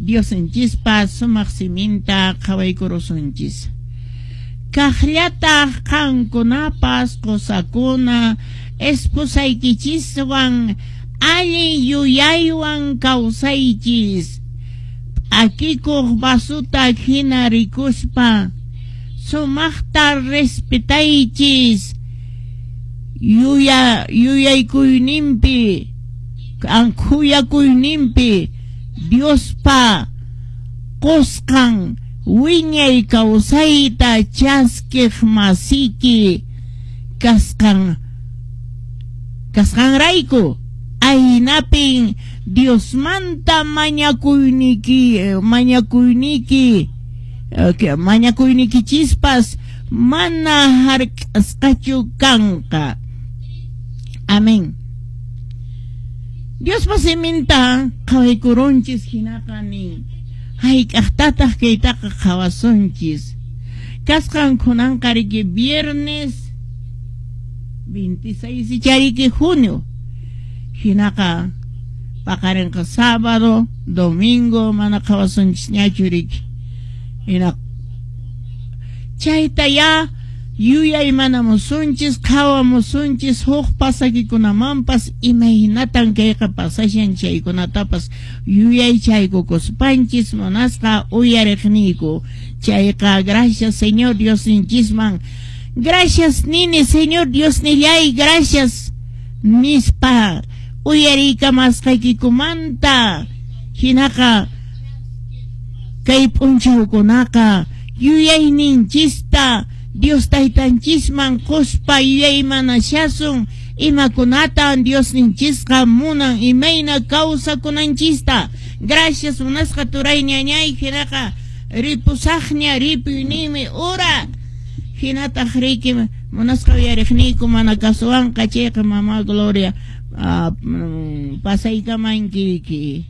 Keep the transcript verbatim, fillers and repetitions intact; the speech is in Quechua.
Diosninchispa sumaq siminta qhawaykurusunchis. Kaqllataq qankunapas qusakuna esposaykichiswan allin yuyaywan kawsaychis, p'akikuq vasuta hina rikuspa sumaqta respetaychis yuya yuyaykuyninpi khuyakuyninpi Diospa qusqan wiñay kawsayta chaskiq masiki kasqan kasqanrayku aynapin Diosmanta mañakuyniki mañakuyniki mañakuynikichispas mana hark'asqachu kanqa. Amén. Diospa siminta qhawaykurunchis hinaqa nin hayk'aqtataq kaytaqa qhawasunchis. Kasqan kunanqa riki viernes veintiséis chariki junio hinaqa paqarinqa sábado, domingo mana qhawasunchisñachu riki. Hina chayta ya yuyay manamusunchis qhawamusunchis huk pasakikunamanpas imaynatan kayqa pasashan chaykunatapas yuyaychaykukuspanchis munasqa uyariqniyku. Chayqa gracias Señor Diosninchisman, gracias nini Señor Diosnillay, gracias nispa uyariykamasqaykikumanta. Hinaqa kay p'unchawkunaqa yuyayninchista Dios taytanchisman quspa yuyaymanashasun imakunatan Diosninchisqa munan imayna kawsakunanchista. Gracias munasqa turay ñañay, hinaqa ripusaqña ripuyniymi ura. Hinataq riki munasqa uyariqniyku mana kasuwanqa chayqa mama Gloria pasaykamanki.